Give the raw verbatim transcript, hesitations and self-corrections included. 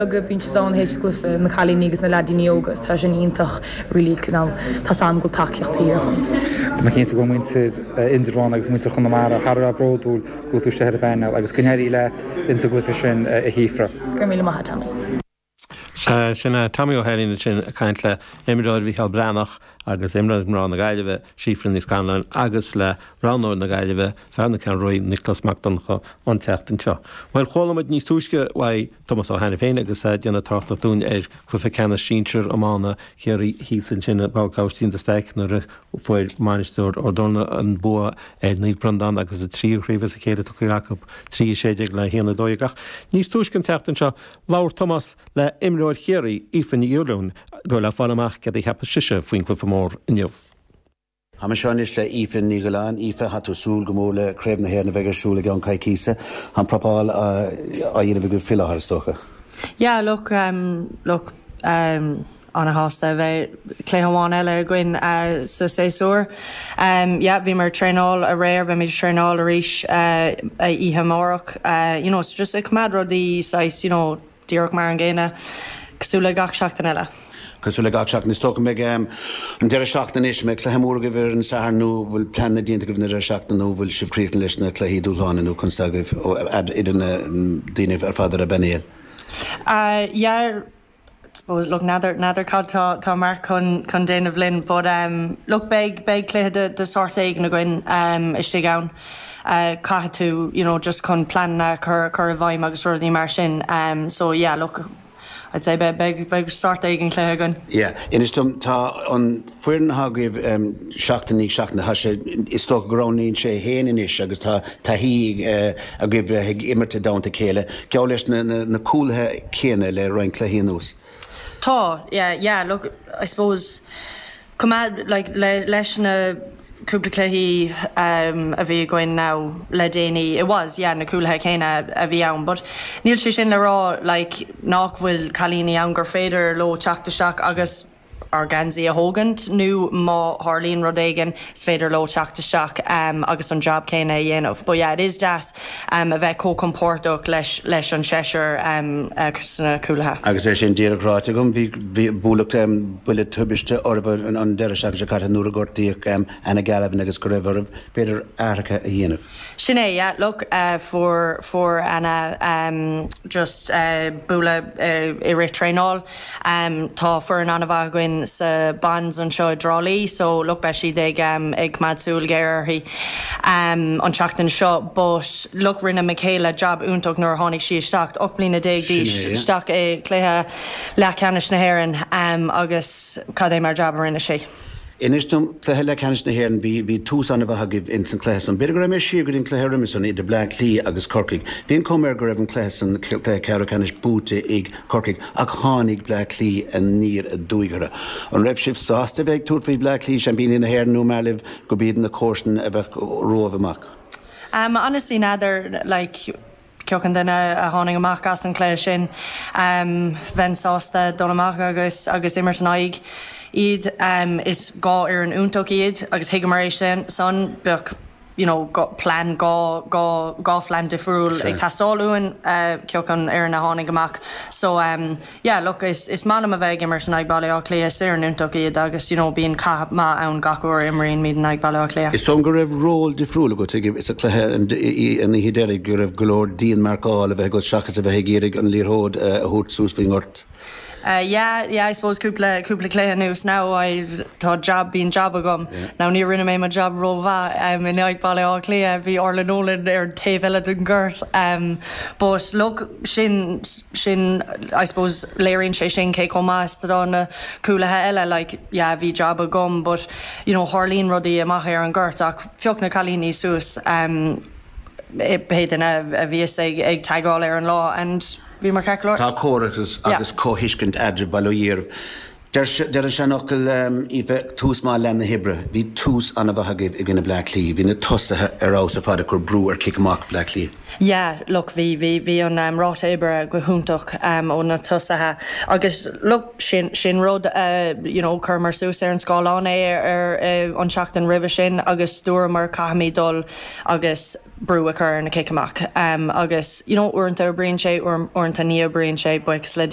Beaga bíonn siad ann théis cluiche na cailíní agus na leaidíní óga tá sin iontach really tá sam go tacaíocht agam. Tá cinnte go muintir Indreabhán agus muintir Chonamara thar a bheith bródúil go tú sé ar an bpainéal agus go n-éirí leat insa gcluiche sin a Shíofra. Gur míle maith Tommy. Sin Tommy Ó hEilín sin ag caint le imreoir Mhicheál Breathnach agus imreoir mná na Gaillimhe Síofra Ní Scanláin agus le roghnóir na Gaillimhe fear na Ceathrún Rua Nioclás Mac Donncha an tseachtain seo. Well chuala muid níos túisce uaidh Tomás Ó hAiniféin agus déanamh tráchta dúinn ar chluiche ceannais sinsir iomána Chiarraí thíos ansin i bPáirc Aibhistín de Staic nuair a fuair Mainistir Ard Dobhna an bua ar Naomh Breandán agus a tríú craobh as a chéile tugtha acu trí sé déag le haon a dó dhéag ach níos túisce an tseachtain seo labhair Tomás le imreoir Chiarraí Aoife Ní Fhialáin go le fáil amach cad a cheap sise faoin cluiche mór inniu. Tá seo anois le Aoife Ní Ghiolláin Aoife tá tú súil go mór le Craobh na hÉireann a bheidh ar siúl i gceann coicíse an prapáil á dhéanamh go fiú is dócha. Yeah, look um, look um, an-shásta bheith cluiche amháin eile againn uh, sa séasúr. Um, yeah, bhí mar traenáil aréir beimid traenáil arís uh, oíche amárach uh, you know, so just ag coimeád rudaí saghas, you know, díreach mar an gcéanna cosúil le gach seachtain eile. Cosúil le gach seachtain is dócha mbeidh an deireadh seachtaine anois mbeidh cluiche mór agaibh ar an Satharn nó bhfuil plean déanta agaibh na deireadh seachtaine nó bhfuil sibh críochnaithe leis na cluichí dúshláin nó chun agaibh idir na daoine ar fad ar an bpainéal. Uh, yeah, suppose look n'fheadar n'fheadar cad tá tá Mark chun chun déanamh linn but um, look beidh beidh cluiche de, de sort éigin againn um, istigh ann. Uh, caithfidh tú you know, just chun plean chur chur i bhfeidhm agus rudaí mar sin um, so yeah look I'd say beidh beidh beidh sort éigin cluiche againn. Yeah, Inis dom tá an foireann agaibh um, seachtain seachtain tá sé is dócha go roghnaíonn sé féin anois agus tá taithí uh, agaibh ag imirt i dteannta chéile, Geall leis na, na, na cúlaithe céanna le roinnt cluichí anuas. Tá yeah yeah look I suppose come like le, leis na cúpla cluichí um, a bhí againn now le déanaí it was yeah na cúlaithe céanna a bhí ann but níl sé sin le rá like nach bhfuil cailíní ann gur féidir leo teacht isteach agus ár ngeansaí a thógaint nó má tharlaíonn rud éigin is féidir leo teacht isteach um, agus an job céanna a dhéanamh. But yeah, it is deas um, a bheith chomh compordach leis leis an seisear um, uh, sna cúlaithe. Agus é sin díreach ráite agam bhí bhí bualadh um, buille tubaiste oraibh an, an deireadh seachtaine seo caite nuair a gortaíodh um, Anna Galvin agus go raibh oraibh b'fhéidir athruithe a dhéanamh. Sin é, yeah, look, uh, fuair fuair Anna um, just uh, bualadh uh, i rith traenáil. Um, tá foireann an-mhaith againn sa bans anseo i dTrá Lí, so look beidh siad ag um, ag coimeád súil géar uirthi um, an tseachtain seo, but look rinne Michaela job iontach nuair a tháinig sí isteach ocht mbliana déag Sin d'aois é, yeah. isteach i cluiche leathcheannais na hÉireann um, agus cad é mar job a rinne sí. Inis dom cluiche leathcheannais na hÉireann bhí bhí tús an-mhaith agaibh in san cluiche san. B'fhéidir go raibh mé siar go dtí an cluiche roimhe san idir Bleá Cliath agus Corcaigh. Bhí an chuma go raibh an cluiche san cluiche ceathrú ceannais buaite ag Corcaigh ach tháinig Bleá Cliath aniar aduaidh orthu. An raibh sibh sásta bheith tabhairt faoi Bleá Cliath seaimpíní na hÉireann nó mar go b'iad na comharsana a bheith romhaibh amach. Um, honestly n'fheadar like ceocan duine a tháinig amach as an cluiche sin um, bheinn sásta dul amach agus agus imirt in aghaidh iad um, is dhá fhoireann iontach iad agus thuigeamar é sin san bheadh you know, go, plean dhá dhá dhá phlean difriúil Sure. ag teastáil uainn uh, ceocan ar na tháinig amach. So um, yeah, look, is, is maith liom a bheith ag imirt in aghaidh Baile Átha Cliath is foireann iontach iad agus you know, bíonn cath maith ann gach uair imríonn in aghaidh Baile Átha Cliath. Is dom go raibh ról difriúil agat ag is a cluiche an an oíche deiridh go raibh go leor díonmharcáil a bheith agat seachas a bheith ag iarraidh an liathróid a thabhairt suas faoin ngort. Uh, yeah, yeah, I suppose cúpla cúpla cluiche anuas now I tá job bíonn job agam. Yeah. Now ní rinne mé mo job rómhaith um, in aghaidh Baile Átha Cliath bhí Orla Nolan ar an taobh eile den ghort. Um, but look sin sin I suppose léiríonn sé sin cé chomh maith is atá na cúlaithe eile like yeah bhí job agam but you know tharlaíonn rudaí amach ar an gort ach phioc na cailíní suas um, pé duine a bhíos ag ag teagmháil ar an lá and bhí mar ceart. Tá comhrá agus Yeah. agus comhthuiscint eadraibh bail ó Dhia oraibh. Deir an seanfhocal Aoife tús maith leath na hoibre, bhí tús an-mhaith agaibh i gcoinne Bleá Cliath, bhí na tosaithe ar fheabhas ar fad ag cur brú ar cic amach Bleá Cliath. Yeah, look, bhí bhí bhí an um, ráta oibre go hiontach um, ó na tosaithe agus look, sin sin rud uh, you know, chuireamar suas ar an scáileán é ar, ar uh, an seachtain roimhe sin agus dúramar caithfimid dul agus brú a chur na cic amach um, agus you know, uaireanta oibríonn sé uaireanta ní oibríonn sé buíochas le